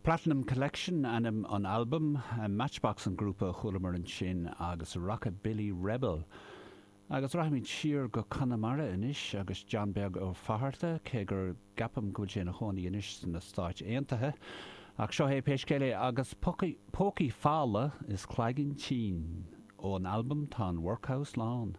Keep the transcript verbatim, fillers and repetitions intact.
Platinum Collection ainm an albaim, Matchbox an grúpa a chualamar ansin agus Rockabilly Rebel. Agus rachaimid siar go Conamara anois agus John Beag Ó Fatharta, cé gur ceapaim go bhfuil sé ina chónaí anois sna Stáit Aontaithe. Ach seo é pé scéal é agus Pócaí Fola is Cloigeann Tinn ón albam Tá an Workhouse Lán.